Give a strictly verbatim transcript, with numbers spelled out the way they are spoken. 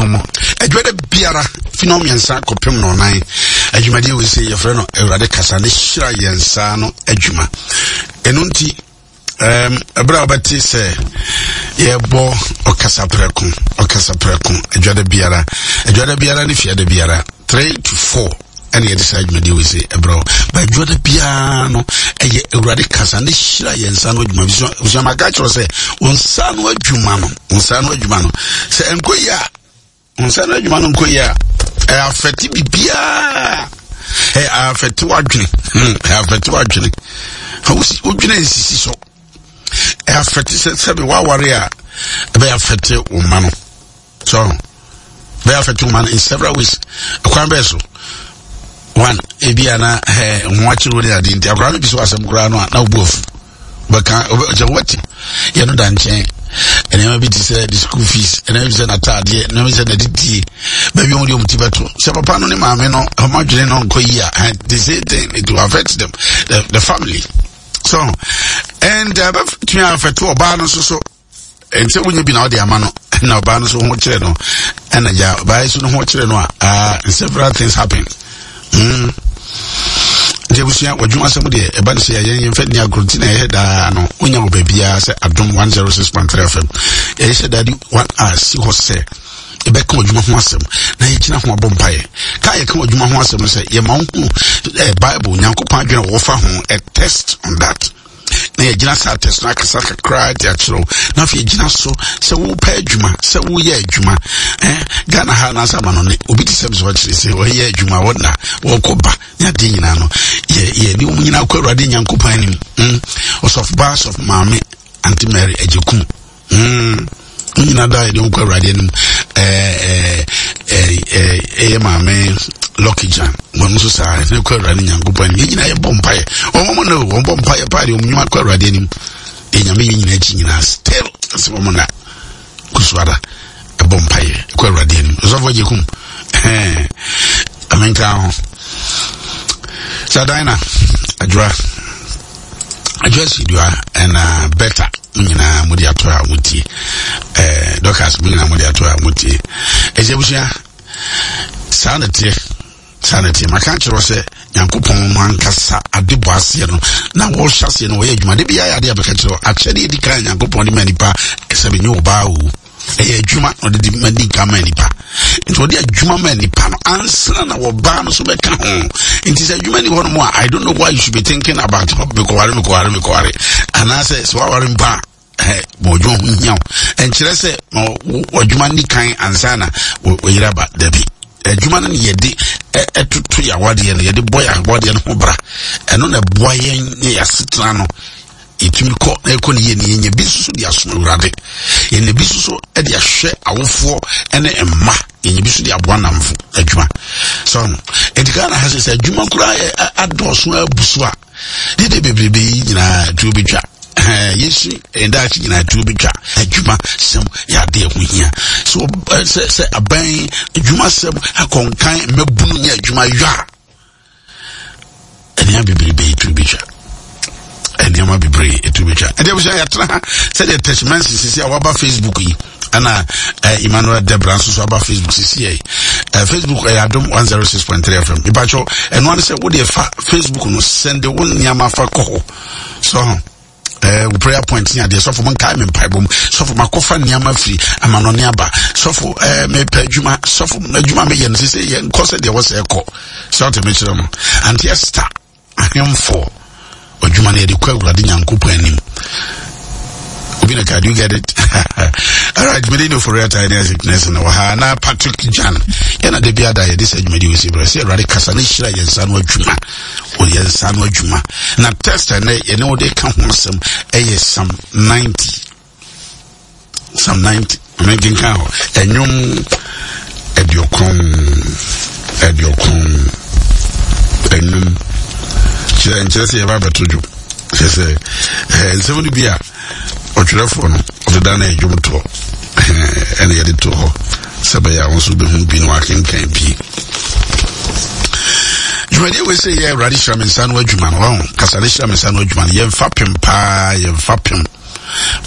adom mu. Adwuma biara fi no mmiɛnsa kɔpem no ɔnan adwumadeɛ wei sɛ yɛfrɛ no Awurade Kasa ne Hyira Yɛn Nsa no Adwuma. Ɛno nti um, ɛberɛ a wobɛte sɛ yɛbɔ ɔkasa prɛko, ɔkasa prɛko adwada biara, adwada biara ne fiada biara three to four ɛne yɛde saa adwumadeɛ wei sɛ ɛberɛ ba adwada biara no, ɛyɛ Awurade Kasa ne Hyira Yɛn Nsa no Adwuma. Busuamaka kyerɛ sɛ wo nsa no adwuma no, wo nsa no adwuma no, sɛ ɛnkɔ yie a, wo nsa no adwuma no nkɔ yie a, ɛyɛ affect biribiaa, ɛyɛ affect w'adwene, ɛyɛ affect w'adwene, wodwene nsisi so, ɛyɛ affect sɛ sɛbi waware a, ɛbɛyɛ affect wo mma no so, bɛyɛ affect wo mma no in several ways. Ɛkwan bɛyɛ so, one, ebi ana ɛɛ ho akyerɛ wo ne ade nti akwaraa no bi so asɛm koraa no a na wobu afu bɛka kyɛ wɔte yɛn no da nkyɛn. Nneɛma bi te sɛ the school fees, nneɛma bi te sɛ n'ataadeɛ, nneɛma bi te sɛ n'adidie, baabi wɔn de wɔn ti bɛto sɛ papa no ne maame no wɔn adwene no nkɔ yi a, the same thing, it will affect them, the, the family so, and ɛbɛtumi uh, affect ɔbaa no nso so. Nti wonye bi na ɔde ama no na ɔbaa no nso ho kyerɛ no, ɛna gya ɔbaa yi so no ho kyerɛ no a, uh, several things happen mm. Nti abusua, wadwuma asɛm deɛ, ɛba no sɛ yɛyɛ yɛmfa nni agorɔ nti na ɛyɛ daa no wonya wɔ baabiaa sɛ Adom one oh six point three F M yɛyɛ hyɛ daa de one a si hɔ sɛ yɛbɛka w'adwuma ho asɛm na yɛgyina ho abɔ mpaeɛ. Ka yɛka w'adwuma ho asɛm no sɛ yɛma wo hu eh, Bible, Nyankopɔn adwene a wɔfa ho, a test on that, na yɛgyina saa test no akasa kakra de akyerɛw, na afei yɛgyina so sɛ wopɛ adwuma, sɛ woyɛ adwuma eh, Ghana ha anaasɛ ama no ne obi te sɛ sɛ ɔkyerɛ sɛ ɔyɛ adwuma, wɔna wɔkɔ ba ne adeɛ nyinaa no, yɛne wɔn nyinaa kɔ Awurade Nyankopɔn anim mm. Ɔsɔfo ba, sɔfo maame Auntie Mary Agyekum mm. Wɔn nyinaa da yɛde wɔn kɔ Awurade anim. Ɛyɛ maame Lucky Jan, wɔn nso saa, ɛsɛ kɔ Awurade Nyankopɔn anim. Yɛn nyinaa yɛbɔ mpaeɛ, wɔn wɔn no wɔn bɔ mpaeɛ paa de wɔn nnwuma kɔ Awurade anim. Yɛn Nyame yɛn nyinaa akyi nyinaa still ɛsɛ wɔn na kusuada ɛbɔ mpaeɛ kɔ Awurade anim. Ɔsɔfo Agyekum, ɛɛ amenka ho sadina adwura adwura sidua ɛna bɛta nyinaa mo de ato a mo tie, ɛɛ dɔkas mo nyinaa mo de ato a mo tie. Ɛsɛ abusua, saa na teɛ, saa na teɛ. Maka kyerɛ sɛ Nyankopɔn no ankasa ade bɔ aseɛ no na wɔhyɛ aseɛ no wɔyɛ adwuma de biara yɛ ade a bɛka kyerɛ akyɛdeɛ di kan Nyankopɔn de ma nipa sɛ bɛnyɛ ɔbaa o, ɛyɛ adwuma na ɔde de ma di nka ma nipa. Nti ɔde adwuma ma nipa no ansa na wɔbaa no so bɛka ho. Nti sɛ adwuma ni hɔ nom a, I don't know why you should be thinking about mekɔware, mekɔware, mekɔware, anaasɛ sɛ waware mpa a, ma ɔdwuma ho hia wo. Ɛnkyerɛ sɛ ma ɔdwuma ni kan ansa na wɔyere aba, dabi. Adwuma no yɛde ɛtoto yɛ awadeɛ no, yɛde bɔ yɛ awadeɛ no ho bra. Ɛno na ɛboa yɛn ne yɛ asetena no yɛtumi kɔ na ɛkɔ ne yie ne yɛnya bi nso de asom Awurade, yɛnya bi nso so de ahwɛ awofoɔ ne mma, yɛnya bi nso de aboa namfo adwuma so. Nti Ghana ha sɛ sɛ adwuma koraa yɛ adɔɔso abu so a, dede bebrebe yi nyinaa tuo bɛtwa. Yɛsu ɛdaakye nyinaa tuo bɛtwa. Adwuma sɛm yɛ ade ɛho hia so sɛ sɛ aban adwuma sɛm akɔnkan mmabunu nyɛ adwuma yɔ a, nneɛma bebrebe yi tuo bɛtwa, nneɛma bebree etu bɛtwa. Ɛdeɛ abusua, yɛatena ha sɛdeɛ Tɛsimansi sisi a waba Facebook yi, ɛna eh, Emmanuel Debra nso so aba Facebook sisi yɛ eh, Facebook ɛyɛ Adom one oh six point three F M. Ipatwɔ, ɛno ano sɛ wode fa Facebook no, send wo nneɛma fa kɔ hɔ so eh, wo prayer point ne adeɛ. Sɔfo, mo nkae me mpaebɔ mu. Sɔfo, makɔfa nneɛma firi amanɔne aba. Sɔfo, eh, mepɛ adwuma. Sɔfo, adwuma meyɛ no sɛ yɛ nkɔ sɛ deɛ wɔ sɛ ɛkɔ sɛ ɔte mekyerɛ no. Auntie Esther ahemfo adwuma no yɛde kɔ Awurade Nyankopɔn anim. Obi na ka, do you get it? All right, mede ne ofori ata ne sickness no wɔ ha na Patrick Jan yɛna da bi ada yɛde sɛ adwumadi wɔ si berɛ sɛ Awurade kasa ne hyira yɛn nsa no adwuma, wɔ yɛn nsa no adwuma. Na test ɛnɛ yɛne wode ka ho asɛm ɛyɛ Psalm ninety, Psalm ninety. Amenkenkan hɔ, ɛnwom aduokron aduokron enum. Kyerɛ nkyerɛ sɛ yɛba abɛto dwom, kyerɛ sɛ ɛɛ nsɛm no bi a ɔtwerɛfoɔ no ɔde da no ɛdwom toɔ, ɛna yɛde to hɔ sɛ bɛyɛ a wɔn nso bɛhu bi na wakenkan bi. Dwumadie wei sɛ yɛ Awurade hyira me nsa no adwuma no, wɔn kasa ne hyira me nsa no adwuma no, yɛmfa pem paa, yɛmfa pem.